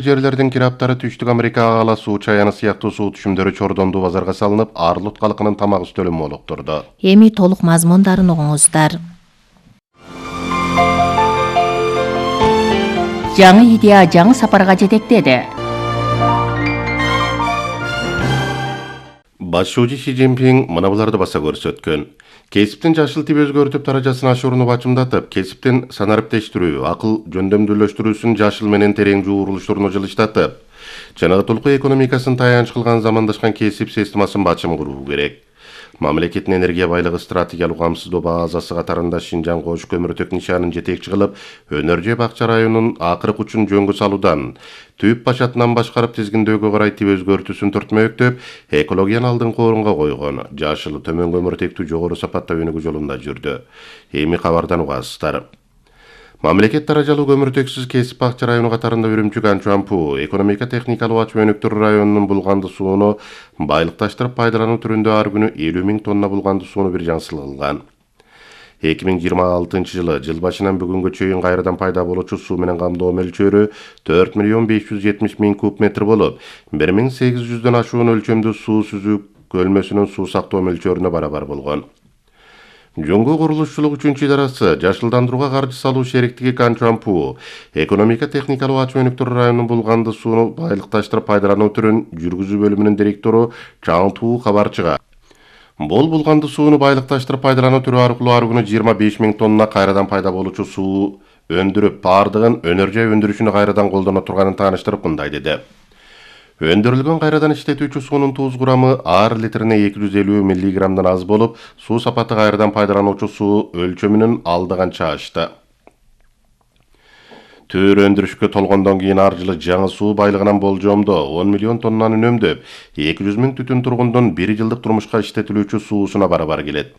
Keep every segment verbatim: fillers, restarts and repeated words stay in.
Жерлердин кираптары Түштүк Америка ала суу чаяны сыяктуу суу түшүмдөрү Чордондуу базарга салынып, Арлут калкынын тамак үстөлүн молуктурду. Эми толук мазмундарын угуңуздар. Жаңы идея жаңы сапарга жетектеди. Башчы Ши Цзиньпин мына буларды баса көрсөткөн. Кесиптин жашыл тип өзгөртүп даражасын ашырууну бачымдатып, кесиптин санариптештирүү, акыл жөндөмдүүлөштүрүүсүн жашыл менен терең жуурулуштуруну жылыштатып, чыныгытылкы экономикасын таянч кылган замандашкан кесип системасын бачым куруу керек. Мамлекеттин энергия байлыгы стратегиялык камсыздоо базасы катарында Шинжаң кош көмүртек нишанын жетекчи кылып, Өнөр-Жай бакча районунун акыркы учун жөнгө салуудан, түп башатынан башкарып тизгиндөөгө карай тип өзгөртүүсүн түртмөктөп, экологияны алдыңкы орунга койгон, жашыл төмөн көмүртектүү жогору сапатта өнүгүү жолунда жүрдү. Эми кабардан угасыздар. Мамлекет даражалуу көмүртексиз кесип бакча району катарында Үрүмчү Канчуампу экономика техникалык ачуу өнүктүрүү районунун булганды сууну байлыкташтырып пайдалануу түрүндө ар күнү элүү миң тонна булганды сууну бир жансыл кылган. эки миң жыйырма алтынчы жылы жыл башынан бүгүнгө чейин кайрадан пайда болуучу суу менен камдоо мөлчөрү төрт миллион беш жүз жетимиш миң куб метр болуп, бир миң сегиз жүздөн ашуун өлчөмдүү суу сүзүү көлмөсүнүн суу сактоо мөлчөрүнө барабар болгон. Жөнгө курулушчулук үчүнчү идарасы жашылдандырууга каржы салуу шериктиги Канчуампу экономика техникалык ачуу өнүктүрүү районунун булганды сууну байлыкташтырып пайдалануу түрүн жүргүзүү бөлүмүнүн директору Чаң Туу кабарчыга. Бул булганды сууну байлыкташтырып пайдалануу түрү аркылуу ар күнү жыйырма беш миң тонна кайрадан пайда болуучу суу өндүрүп, бардыгын Өнөр-Жай өндүрүшүнө кайрадан колдоно турганын тааныштырып мындай деди. Өндүрүлгөн кайрадан иштетүүчү суунун туз курамы ар литрине эки жүз элүү миллиграммдан аз болуп, суу сапаты кайрадан пайдалануучу суу өлчөмүнүн алдыганча ашты. Төр өндүрүшкө толгондон кийин ар жылы жаңы суу байлыгынан болжомдо он миллион тоннаны үнөмдөп, эки жүз миң түтүн тургундун бир жылдык турмушка иштетилүүчү суусуна барабар келет.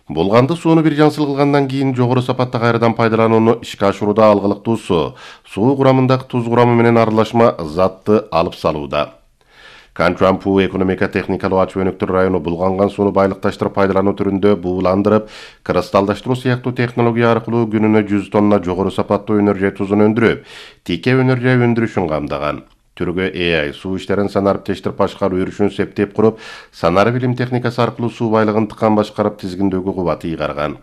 Булганды сууну бир жансыл кылгандан кийин жогору сапатта кайрадан пайдаланууну ишке ашырууда алгылыктуусу суу курамындагы туз курамы менен аралашма затты алып салууда. Канчуампу экономика техникалык ачуу өнүктүрүү району булганган сууну байлыкташтырып пайдалануу түрүндө бууландырып, кристалдаштыруу сыяктуу технология аркылуу күнүнө жүз тонна жогору сапаттуу Өнөр-Жай тузун өндүрүп, тике Өнөр-Жай өндүрүшүн камдаган. Түргө э ай суу иштерин санариптештирип башкаруу үрүшүн септеп куруп, санары билим техникасы аркылуу суу байлыгын тыккан башкарып тизгиндөөгө кубат ыйгарган.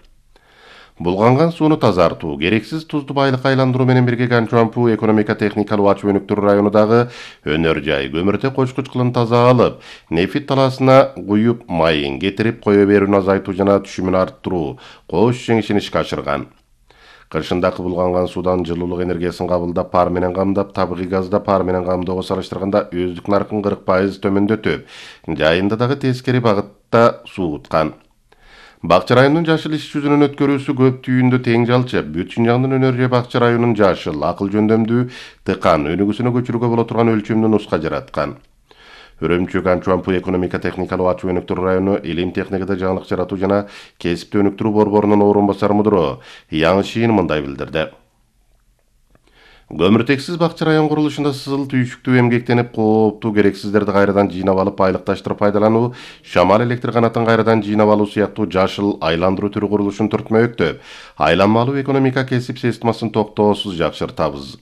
Булганган сууну тазартуу, керексиз тузду байлыкка айландыруу менен бирге Канчуампу экономика техникалык ачуу өнүктүрүү районундагы Өнөр-Жай көмүртек кочкуч кылын таза алып, нефит талаасына куюп майын кетирип кое берүүнү азайтуу жана түшүмүн арттыруу кош жеңишин ишке ашырган. Кышындагы булганган суудан жылуулук энергиясын кабылдап, пар менен камдап, табигый газда пар менен камдоого салыштырганда өздүк наркын кырк пайыз төмөндөтүп, жайында дагы тескери багытта сууткан. Бакча районунун жашыл иш жүзүнөн өткөрүүсү көп түйүндө тең жалчып, бүт Шинжаңдын Өнөр-Жай бакча районунун жашыл, акыл жөндөмдүү, тыкан өнүгүүсүнө көчүрүүгө боло турган өлчөмдүү нуска жараткан. Үрүмчү Канчуампу экономика техникалык ачуу өнүктүрүү району илим техникада жаңылык жаратуу жана кесипти өнүктүрүү борборунун орун басар мудуру Яң Шин мындай билдирди. Көмүртексиз бакча район курулушунда сызыл түйшүктүү эмгектенип, кооптуу керексиздерди кайрадан жыйнап алып байлыкташтырып пайдалануу, шамал электр канатын кайрадан жыйнап алуу сыяктуу жашыл айландыруу түрү курулушун түртмөктөп, айланмалуу экономика кесип системасын токтоосуз жакшыртабыз.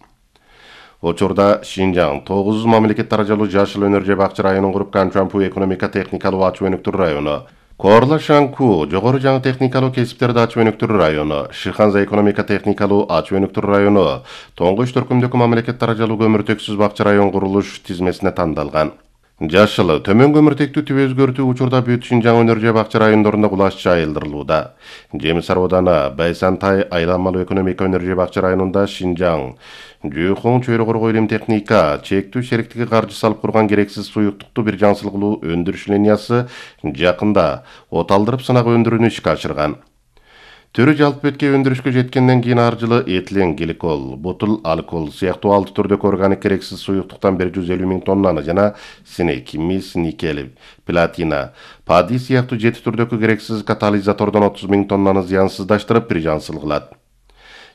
Учурда Шинжаң тогуз мамлекет даражалуу жашыл Өнөр-Жай бакча районун куруп Канчуампу экономика техникалык ачуу өнүктүрүү району, Корла Шаңку жогору жаңы техникалык кесиптерди ачуу өнүктүрүү району, Шыханза экономика техникалык ачуу өнүктүрүү району Тоңгуш төркүмдөгү мамлекет даражалуу көмүртексиз бакча район курулуш тизмесине тандалган. Жашыл төмөн көмүртектүү тип өзгөртүү учурда бүт Шинжаң Өнөр-Жай бакча райондорунда кулаш жайылдырылууда. Жемис ауданы Байсантай айланмалуу экономика Өнөр-Жай бакча районунда Шинжаң Жүйхоң чөйрө коргоо илим техника чектүү шериктиги каржы салып курган керексиз суюктукту бир жансыл кылуу өндүрүш линиясы жакында оталдырып сынак өндүрүүнү ишке ашырган. Түрү жалпы бетке өндүрүшкө жеткенден кийин ар жылы этилен гликол, бутыл алкол сыяктуу алты түрдөгү органик керексиз суюктуктан бир жүз элүү миң тоннаны жана синек, мис, никель, платина, падий сыяктуу жети түрдөгү керексиз катализатордон отуз миң тоннаны зыянсыздаштырып бир жансыл кылат.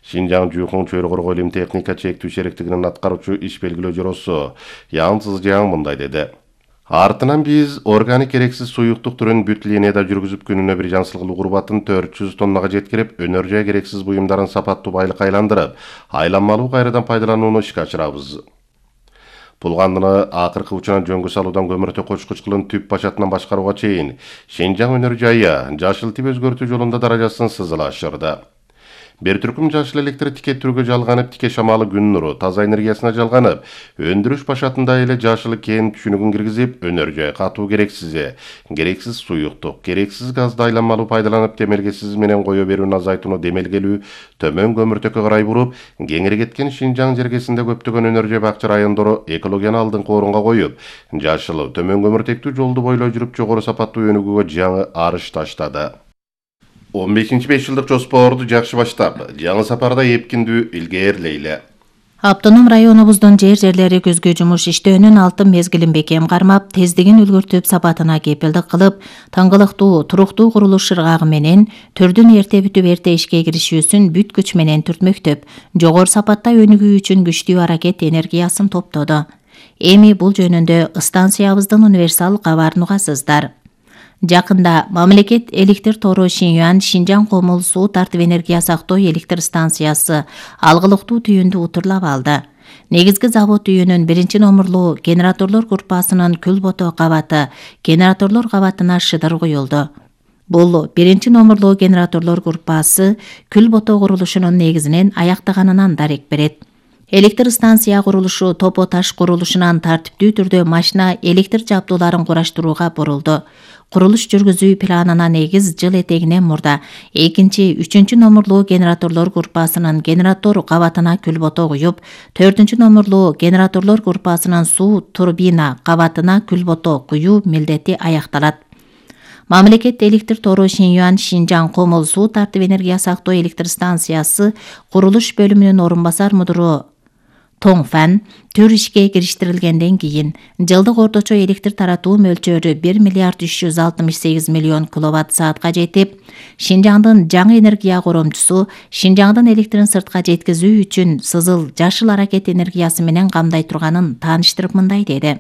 Шинжаң Жүйхоң чөйрө коргоо илим техника чектүү шериктигинин аткаруучу иш белгилөө жоросу Яң Цзжаң мындай деди. Артынан биз органик керексиз суюктук түрүн бүт линияда жүргүзүп күнүнө бир жансыл кылуу курбатын төрт жүз тоннага жеткирип, Өнөр-Жай керексиз буюмдарын сапаттуу байлыкка айландырып, айланмалуу кайрадан пайдаланууну ишке ашырабыз. Бул кандыны акыркы учуран жөнгө салуудан көмүртө кочкуч кылын түп башатынан башкарууга чейин Шинжаң өнөр жайы жашыл тип өзгөртүү жолунда даражасын сызыла ашырды. Бир түркүм жашыл электр тике түргө жалганып, тике шамалы күн нуру таза энергиясына жалганып, өндүрүш башатында эле жашыл кен түшүнүгүн киргизип, өнөр жай катуу керексиз, керексиз суюктук, керексиз газды айланмалуу пайдаланып, темелгесиз менен кое берүүнү азайтууну демелгелүү, төмөн көмүртөккө карай буруп, кеңири кеткен Шинжаң жергесинде көптөгөн өнөр жай бакча райондору экологияны алдыңкы орунга коюп, жашыл төмөн көмүртектүү жолду бойлой жүрүп жогору сапаттуу өнүгүүгө жаңы арыш таштады. он бешинчи беш жылдык жоспорду жакшы баштап, жаңы сапарда эпкиндүү илгээрлейли. Автоном районубуздун жер жерлери көзгө жумуш иштөөнүн алтын мезгилин бекем кармап, тездигин үлгүртүп, сапатына кепилдик кылып, таңгылыктуу, туруктуу курулуш ыргагы менен төрдүн эрте бүтүп эрте ишке киришүүсүн бүт күч менен түртмөктөп, жогору сапатта өнүгүү үчүн күчтүү аракет энергиясын топтоду. Эми бул жөнүндө станциябыздын универсал кабарын угасыздар. Жакында мамлекет электр тору Шинюан Шинжаң Комул суу тартып энергия сактоо электр станциясы алгылыктуу түйүндү утурлап алды. Негизги завод үйүнүн биринчи номерлуу генераторлор группасынын Күлбото кабаты генераторлор кабатына шыдыр куюлду. Бул биринчи номерлуу генераторлор группасы Күлбото курулушунун негизинен аяктаганынан дарек берет. Электр станция курулушу топо таш курулушунан тартиптүү түрдө машина электр жабдууларын кураштырууга бурулду. Курулуш жүргүзүү планына негиз жыл этегинен мурда экинчи, үчүнчү номерлуу генераторлор группасынын генератор кабатына Күлбото куюп, төртүнчү номерлуу генераторлор группасынын суу турбина кабатына Күлбото куюу милдети аякталат. Мамлекет электр тору Шинюан Шинжаң Комул суу тартып энергия сактоо электр станциясы курулуш бөлүмүнүн орун басар мудуру Тоңфан түр ишке кириштирилгенден кийин жылдык орточо электр таратуу мөлчөрү бир миллиард үч жүз алтымыш сегиз миллион киловатт саатка жетип, Шинжаңдын жаңы энергия коромчусу Шинжаңдын электрин сыртка жеткизүү үчүн сызыл жашыл аракет энергиясы менен камдай турганын тааныштырып мындай деди.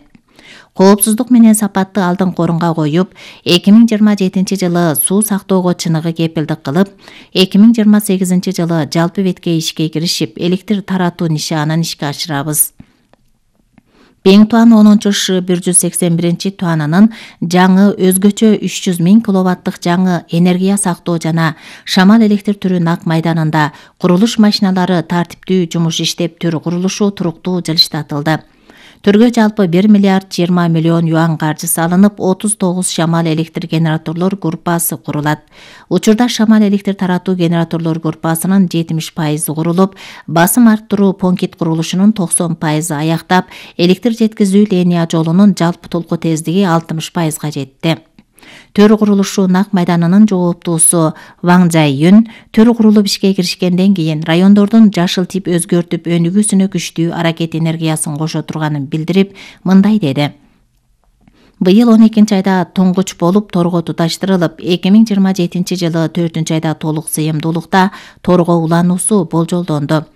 Коопсуздук менен сапатты алдыңкы орунга коюп, эки миң жыйырма жетинчи жылы суу сактоого чыныгы кепилдик кылып, эки миң жыйырма сегизинчи жылы жалпы бетке ишке киришип, электр таратуу нишанын ишке ашырабыз. Бең Туан онунчу Ш бир жүз сексен биринчи туанынын жаңы өзгөчө үч жүз миң киловаттык жаңы энергия сактоо жана шамал электр түрү Нак майданында курулуш машиналары тартиптүү жумуш иштеп, түр курулушу туруктуу жылыштатылды. Түргө жалпы бир миллиард жыйырма миллион юан каржы салынып, отуз тогуз шамал электр генераторлор группасы курулат. Учурда шамал электр таратуу генераторлор группасынын жетимиш пайызы курулуп, басым арттыруу понкит курулушунун токсон пайызы аяктап, электр жеткизүү линия жолунун жалпы толку тездиги алтымыш пайызга жетти. Төр курулушу Нак майданынын жооптуусу Ваң Жайюн төр курулуп ишке киришкенден кийин райондордун жашыл тип өзгөртүп өнүгүүсүнө күчтүү аракет энергиясын кошо турганын билдирип, мындай деди. Быйыл он экинчи айда туңгуч болуп торго туташтырылып, эки миң жыйырма жетинчи жылы төртүнчү айда толук сыйымдуулукта торго улануусу болжолдонду.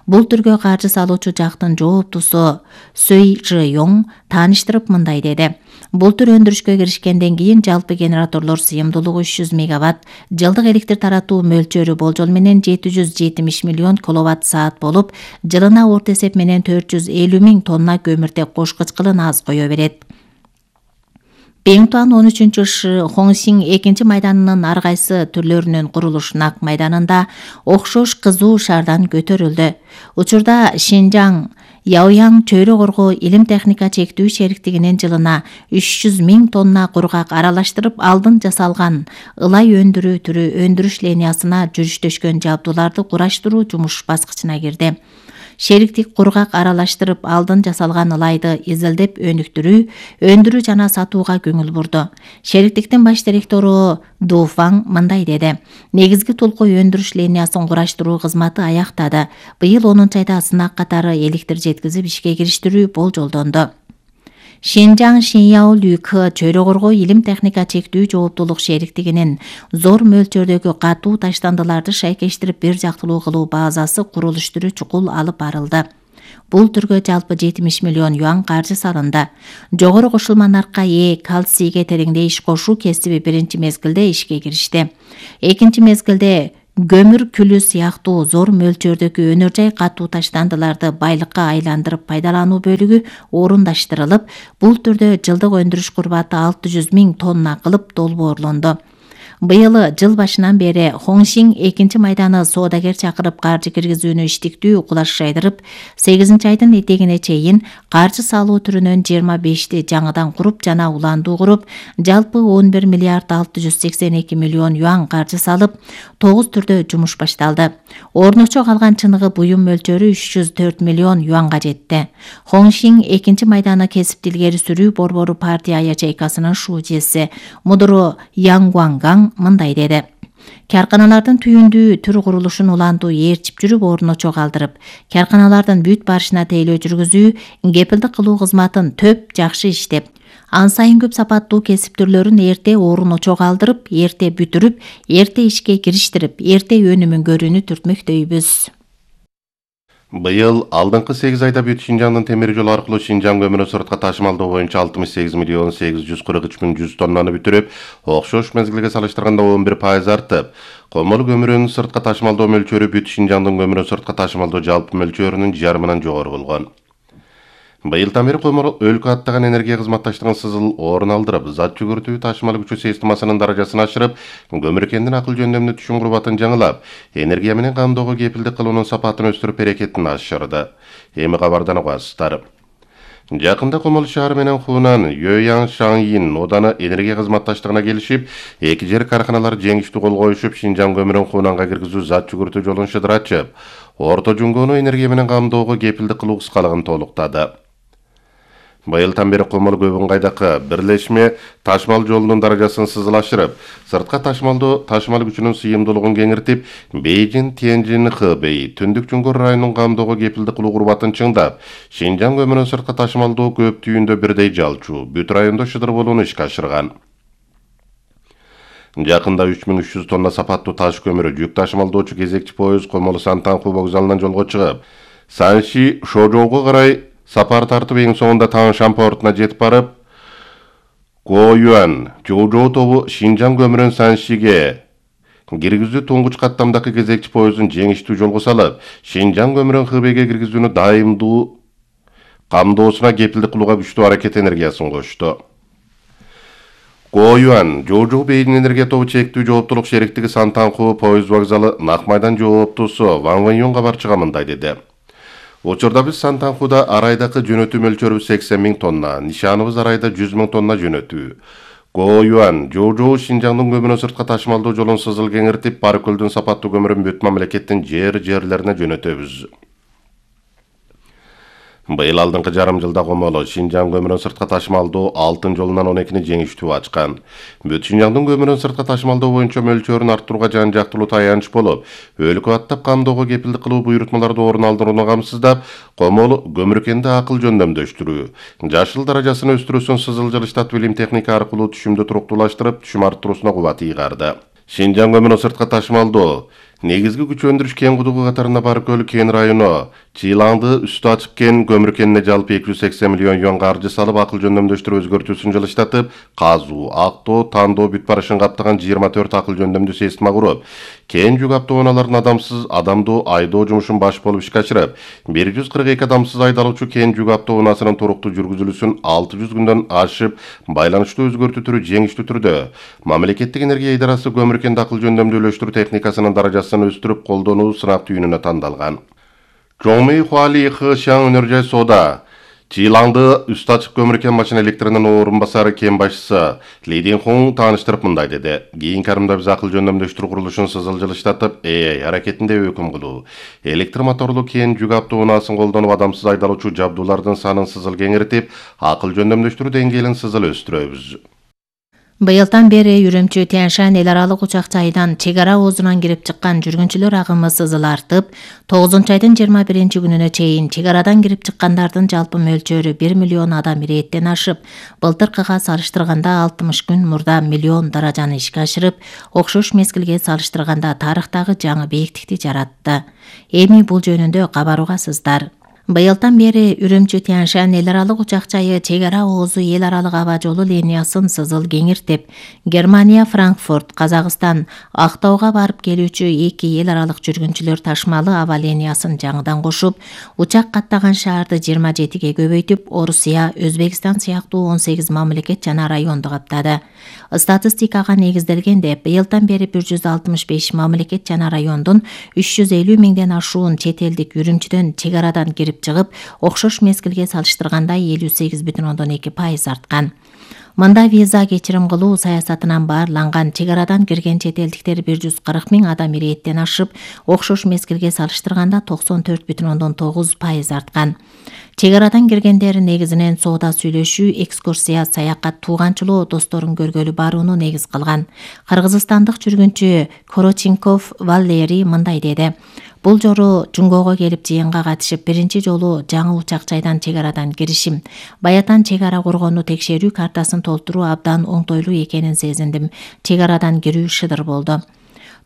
Бул түргө каржы салуучу жактын жооптусу Сөй Жыёң тааныштырып мындай деди. Бул түр өндүрүшкө киришкенден кийин жалпы генераторлор сыйымдуулугу үч жүз мегаватт, жылдык электр таратуу мөлчөрү болжол менен жети жүз жетимиш миллион киловатт саат болуп, жылына орто эсеп менен төрт жүз элүү миң тонна көмүртек кошкуч кылын аз кое берет. Бең Туан он үчүнчү Ш Хоңсиң экинчи майданынын ар кайсы түрлөрүнүн курулуш Нак майданында окшош кызуу шаардан көтөрүлдү. Учурда Шинжаң Яояң чөйрө коргоо илим техника чектүү шериктигинин жылына үч жүз миң тонна кургак аралаштырып алдын жасалган ылай өндүрүү түрү өндүрүш линиясына жүрүштөшкөн жабдууларды кураштыруу жумуш баскычына кирди. Шериктик кургак аралаштырып алдын жасалган ылайды изилдеп өнүктүрүү, өндүрүү жана сатууга көңүл бурду. Шериктиктин баш директору Ду Фаң мындай деди. Негизги толку өндүрүш линиясын кураштыруу кызматы аяктады. Быйыл онунчу айда сынак катары электр жеткизип ишке кириштирүү болжолдонду. Шинжаң Шиняо Лүкө чөйрө коргоо илим техника чектүү жооптуулук шериктигинин зор мөлчөрдөгү катуу таштандыларды шайкештирип бир жактылуу кылуу базасы курулуштуруу чукул алып барылды. Бул түргө жалпы жетимиш миллион юан каржы салынды. Жогору кошулма наркка ээ кальцийге тереңдей иш кошуу кесиби биринчи мезгилде ишке киришти. Экинчи мезгилде көмүр күлү сыяктуу зор мөлчөрдөгү өнөр жай катуу таштандыларды байлыкка айландырып пайдалануу бөлүгү орундаштырылып, бул түрдө жылдык өндүрүш курбаты алты жүз миң тонна кылып долбоорлонду. Быйыл жыл башынан бери Хоңшиң экинчи майданы соодагер чакырып каржы киргизүүнү иштиктүү кулаш жайдырып, сегизинчи айдын этегине чейин каржы салуу түрүнөн жыйырма бешти жаңыдан куруп жана уландуу куруп, жалпы он бир миллиард алты жүз сексен эки миллион юан каржы салып, тогуз түрдө жумуш башталды. Орночо калган чыныгы буюм мөлчөрү үч жүз төрт миллион юанга жетти. Хоңшиң экинчи майданы кесип илгери сүрүү борбору партия ячейкасынын шуучеси Мудро Янгуанган мындай деди: Карканалардын түйүндүү түр курулушун уландуу ээрчип жүрүп орночо калтырып, карканалардын бүт барышына тейлөө жүргүзүү, кепилдик кылуу кызматын төп жакшы иштеп, ан сайын көп сапаттуу кесип түрлөрүн эрте орночо калтырып, эрте бүтүрүп, эрте ишке кириштирип, эрте өнүмүн көрүүнү түртмөктөйбүз. Быйыл алдыңкы сегиз айда бүт Шинжаңдын темир жол аркылуу Шинжаң көмүрү сыртка ташымалдоо боюнча алтымыш сегиз миллион сегиз жүз кырк үч миң жүз тоннаны бүтүрүп, окшош мезгилге салыштырганда он бир пайыз артып, комол көмүрүнүн сыртка ташымалдоо мөлчөрү бүт Шинжаңдын көмүрү сыртка ташымалдоо жалпы мөлчөрүнүн жарымынан жогору болгон. Быйылдан бери комол өлкө аттаган энергия кызматташтыгын сызыл орун алдырып, зат жүгүртүү ташымал күчү системасынын даражасын ашырып, көмүркендин акыл жөндөмдүү түшүм курбатын жаңылап, энергия менен камдоого кепилдик кылуунун сапатын өстүрүп берекетин ашырды. Эми кабардан угасыздар. Жакында Комол шаары менен Хунан, Йоян Шаңйин оданы энергия кызматташтыгына келишип, эки жер карканалар жеңиштүү кол коюшуп, Шинжаң көмүрүн Хунанга киргизүү зат жүгүртүү жолун шыдыратчып, орто жуңгоону энергия менен камдоого кепилдик кылуу кыскалыгын толуктады. Быйылдан бери Комол көбүн кайдакы бирлешме ташмал жолунун даражасын сызылашырып, сыртка ташмалдоо ташмал күчүнүн сыйымдуулугун кеңиртип, Бейжин, Тяньжин, Хэбэй, Түндүк Чуңкур районунун камдоого кепилдик кылуу курбатын чыңдап, Шинжаң көмүрүн сыртка ташмалдоо көп түйүндө бирдей жалчу, бүт райондо шыдыр болууну ишке ашырган. Жакында үч миң үч жүз тонна сапаттуу таш көмүрү жүк ташымалдоочу кезекчи поезд Комол Сантанху вокзалынан жолго чыгып, Санши Шожоого карай сапар тартып эң соңунда Таngshan портуна жетип барып, Гоюан, Жоужоу тобу Шинжаң көмүрүн Саншиге киргизүү туңгуч каттамдагы кезекчи поездун жеңиштүү жолго салып, Шинжаң көмүрүн Хэбэйге киргизүүнү дайымдуу камдоосуна кепилдик кылууга күчтүү аракет энергиясын кошту. Гоюан, Жоужоу Бейжин энергия тобу чектүү жооптулук шериктиги Сантанху поезд вокзалы Нак майдан жооптусу Ван Вэньон кабарчыга мындай деди: Учурда биз Сантанхуда арайдакы жөнөтүү мөлчөрүбүз сексен миң тонна, нишаныбыз арайда жүз миң тонна жөнөтүү. Гоюан, Жоужоу Шинжаңдын көмүрүн сыртка ташымалдоо жолун сызыл кеңиртип, Баркөлдүн сапаттуу көмүрүн бүт мамлекеттин жер-жерлерине жөнөтөбүз. Быйыл алдыңкы жарым жылда Комол Шинжаң көмүрүн сыртка ташымалдоо алтын жолунан он экини жеңиштүү ачкан. Бүт Шинжаңдын көмүрүн сыртка ташымалдоо боюнча мөлчөрүн арттырууга жан жактылуу таянч болуп, өлкө аттап камдоого кепилдик кылуу буйрутмаларды орун алдырууну камсыздап, Комол көмүркенди акыл жөндөмдөштүрүү, жашыл даражасын өстүрүүсүн сызыл жылыштатып илим техника аркылуу түшүмдү туруктуулаштырып, түшүм арттыруусуна кубат ыйгарды. Шинжаң көмүрүн сыртка ташымалдоо негизги күч өндүрүш кен кудугу катарында Баркөл кен району, Чилаңды үстү ачык кен көмүркенине жалпы эки жүз сексен миллион юан каржы салып, акыл жөндөмдөштүрүү өзгөртүүсүн жылыштатып, казуу, актоо, тандоо бүт барышын каптаган жыйырма төрт акыл жөндөмдүү система куруп, кен жүк автоунаалардын адамсыз адамдуу айдоо жумушун баш болуп ишке ашырып, бир жүз кырк эки адамсыз айдалуучу кен жүк автоунаасынын туруктуу жүргүзүлүүсүн алты жүз күндөн ашып, байланыштуу өзгөртүү түрү жеңиштүү түрдө мамлекеттик энергия идарасы көмүркенди акыл жөндөмдүүлөштүрүү техникасынын даражасын өстүрүп колдонуу сынак түйүнүнө тандалган. Чоңмэй Хуали Хэшаң өнөр жай соода Чилаңды үстү ачык көмүркен машина электринин орун басары кен башчысы Ли Динхун тааныштырып мындай деди: Кийинки арымда биз акыл жөндөмдөштүрүү курулушун сызыл жылыштатып, эй аракетинде өкүм кылуу, электр моторлуу кен жүк автоунаасын колдонуп, адамсыз айдалуучу жабдуулардын санын сызыл кеңиртип, акыл жөндөмдөштүрүү деңгээлин сызыл өстүрөбүз. Быйылдан бери Үрүмчү Тяньшан эл аралык учак жайынан чек ара оозунан кирип чыккан жүргүнчүлөр агымы сызыл артып, тогузунчу айдын жыйырма биринчи күнүнө чейин чек арадан кирип чыккандардын жалпы мөлчөрү бир миллион адам ирээттен ашып, былтыркыга салыштырганда алтымыш күн мурда миллион даражаны ишке ашырып, окшош мезгилге салыштырганда тарыхтагы жаңы бийиктикти жаратты. Эми бул жөнүндө кабар угасыздар. Быйылдан бери Үрүмчү Тянь-Шань эл аралык учак жайы чек ара оозу эл аралык аба жолу линиясын сызыл кеңиртип, Германия Франкфурт, Казакстан, Актауга барып келүүчү эки эл аралык жүргүнчүлөр ташмалы аба линиясын жаңыдан кошуп, учак каттаган шаарды жыйырма жетиге көбөйтүп, Орусия, Өзбекстан сыяктуу он сегиз мамлекет жана районду каптады. Статистикага негизделгенде, быйылдан бери бир жүз алтымыш беш мамлекет жана райондун үч жүз элүү миңден ашуун чет элдик Үрүмчүдөн чек арадан кирип чыгып, окшош мезгилге салыштырганда элүү сегиз бүтүн ондон эки пайыз арткан. Мында виза кечирим кылуу саясатынан баарланган чек арадан кирген чет элдиктер бир жүз кырк миң адам ирээттен ашып, окшош мезгилге салыштырганда токсон төрт бүтүн ондон тогуз пайыз арткан. Чек арадан киргендер негизинен соода сүйлөшүү, экскурсия, саякат, тууганчылоо, досторун көргөлү барууну негиз кылган. Кыргызстандык жүргүнчү Короченков Валерий мындай деди: Бул жолу Жунгого келип жыйынга катышып, биринчи жолу жаңы учак жайдан чек арадан киришим. Баятан чек ара коргонуу текшерүү картасын толтуруу абдан оңтойлуу экенин сезиндим. Чек арадан кирүү шыдыр болду.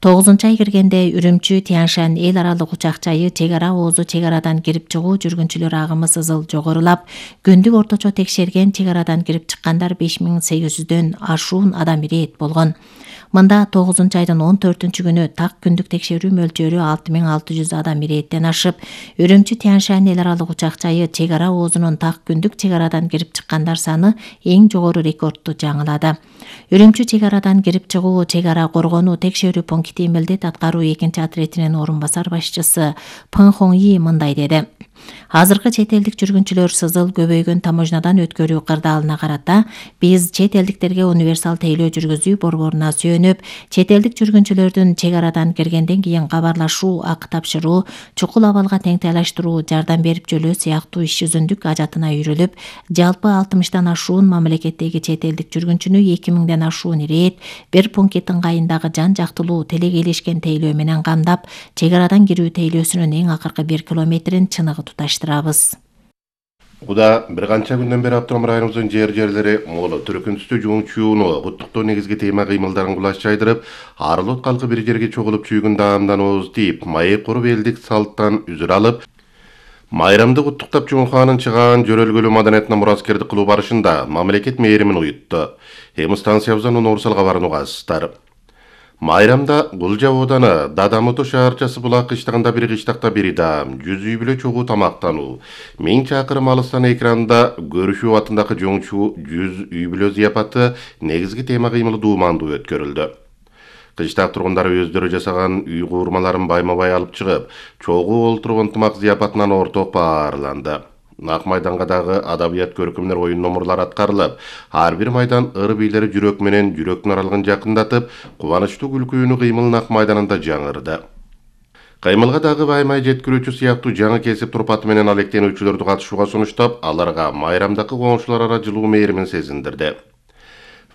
тогузунчу ай киргенде Үрүмчү Тянь-Шань эл аралык учак жайы чек ара оозу чек арадан кирип чыгуу жүргүнчүлөр агымы сызыл жогорулап, күндүк орточо текшерген чек арадан кирип чыккандар беш миң сегиз жүздөн ашуун адам ирээт болгон. Мында тогузунчу айдын он төртүнчү күнү так күндүк текшерүү мөлчөрү алты миң алты жүз адам ирээттен ашып, Үрүмчү Тянь-Шань эл аралык учак жайы чек ара оозунун так күндүк чек арадан кирип чыккандар саны эң жогору рекордду жаңылады. Үрүмчү чек арадан кирип чыгуу чек ара коргонуу текшерүү пункти милдет аткаруу экинчи отретинин орун басар башчысы Пын Хоньи мындай деди: Азыркы чет элдик жүргүнчүлөр сызыл көбөйгөн таможнядан өткөрүү кырдаалына карата биз чет элдиктерге универсал тейлөө жүргүзүү борборуна сүйөнүп, чет элдик жүргүнчүлөрдүн чек арадан киргенден кийин кабарлашуу, акы тапшыруу, чукул абалга теңтайлаштыруу, жардам берип жөлөө сыяктуу иш жүзүндүк ажатына үйрүлүп, жалпы алтымыштан ашуун мамлекеттеги чет элдик жүргүнчүнү эки миңден ашуун ирээт бир пункт ыңгайындагы жан жактылуу телегейлешкен тейлөө менен камдап, чек арадан кирүү тейлөөсүнүн эң акыркы бир километрин чыныгы туташтырабыз. Куда бир канча күндөн бери автоном районубуздун жер-жерлери молу түркүнүстүү жуңчууну куттуктоо негизги тема кыймылдарын кулаш чайдырып, арылот калкы бир жерге чогулуп чүйгүн даамдан ооз тийип, майы куруп элдик салттан үзүр алып, майрамды куттуктап Жумханын чыгаан жөрөлгөлүү маданиятына мураскердик кылуу барышында мамлекет мээримин уютту. Эми станциябыздан Орусал кабарын угасыздар. Майрамда Гулжа ооданы Дадамуту шаарчасы булак кыштагында бир кыштакта бири даам, жүз үй бүлө чогуу тамактануу, миң чакырым алыстан экранда көрүшүү атындагы жоңчу жүз үй бүлө зыяпаты негизги тема кыймылы дуумандуу өткөрүлдү. Кыштак тургундары өздөрү жасаган үй куурмаларын байма-бай алып чыгып, чогуу олтуруп ынтымак зыяпатынан орток баарланды. Ак майданга дагы адабият көркөмдөр оюн номурлары аткарылып, ар бир майдан ыр бийлери жүрөк менен жүрөктүн аралыгын жакындатып, кубанычтуу күлкүүнү кыймыл Ак майданында жаңырды. Кыймылга дагы баймай жеткирүүчү сыяктуу жаңы кесип турпаты менен алектенүүчүлөрдү катышууга сунуштап, аларга майрамдагы коңшулар ара жылуу мээримин сезиндирди.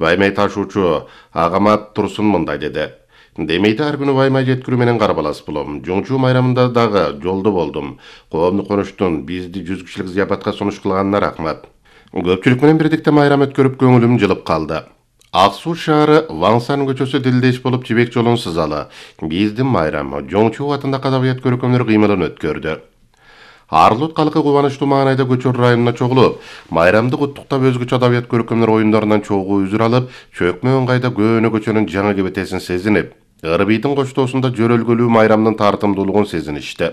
Баймай ташуучу Агамат Турсун мындай деди: Демейди ар күнү баймай жеткирүү менен карбалас болом. Жоңчу майрамында дагы жолдо болдум. Коомдук конуштун бизди жүз кишилик зыяпатка сунуш кылганына рахмат. Көпчүлүк менен бирдикте майрам өткөрүп көңүлүм жылып калды. Ак Суу шаары Ваңсан көчөсү дилдеш болуп Жибек жолун сызалы. Биздин майрам Жоңчу атында адабият көркөмдөр кыймылын өткөрдү. Арылот калкы кубанычтуу маанайда көчөр районуна чогулуп, майрамды куттуктап өзгөчө адабият көркөмдөр оюндарынан чогуу үзүр алып, чөкмө ыңгайда көөнө көчөнүн жаңы кебетесин сезинип, ырбийдин коштоосунда жөрөлгөлүү майрамдын тартымдуулугун сезиништи.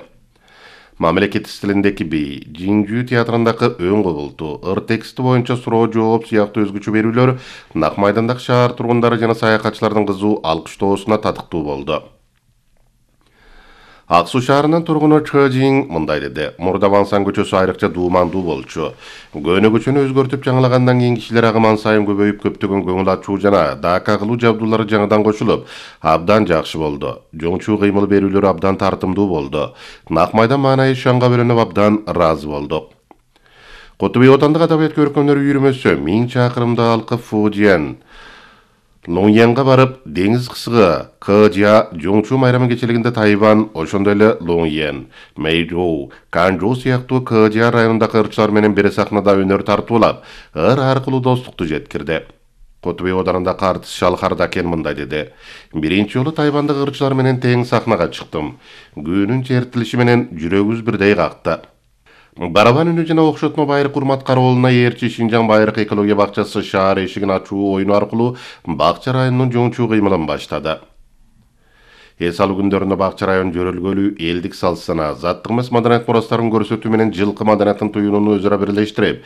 Мамлекет стилиндеги бий, Жиңжүү театрындагы өн кубулту, ыр тексти боюнча суроо жооп сыяктуу өзгөчө берүүлөр Ак майдандагы шаар тургундары жана саякатчылардын кызуу алкыштоосуна татыктуу болду. Ак Суу шаарынын тургуну Чы Жиң мындай деди: Мурда Ваңсан көчөсү айрыкча дуумандуу болчу. Көөнө көчөнү өзгөртүп жаңылагандан кийин кишилер агыман сайын көбөйүп, көптөгөн көңүл ачуу жана дака кылуу жабдуулары жаңыдан кошулуп, абдан жакшы болду. Жоңчу кыймыл берүүлөрү абдан тартымдуу болду. Ак майдан маанайы шаңга бөлөнүп абдан ыраазы болдук. Куту Бей отандык адабият көркөмдөр үйүрмөсү миң чакырымда алкып Фужиан Лоңьянга барып, деңиз кысыгы Кыжа Жоңчу майрамы кечилигинде Тайван, ошондой эле Лоңьян, Мэйжоу, Канжоу сыяктуу Кыжа районундагы ырчылар менен бир сахнада өнөр тартуулап, ыр аркылуу достукту жеткирди. Куту Бей оданында артист Шалхардакен мындай деди: Биринчи жолу Тайвандагы ырчылар менен тең сахнага чыктым. Күнүн чертилиши менен жүрөгүбүз бирдей какты. Барабан үнү жана окшотмо байыркы урмат кароолуна ээрчи Шинжаң байыркы экология бакчасы шаар эшигин ачуу оюну аркылуу Бакча районунун жоңчу кыймылын баштады. Эс алуу күндөрүндө Бакча район жөрөлгөлү элдик салт санаа, заттык эмес маданият мурастарын көрсөтүү менен жылкы маданиятын туюунуну өзара бирлештирип,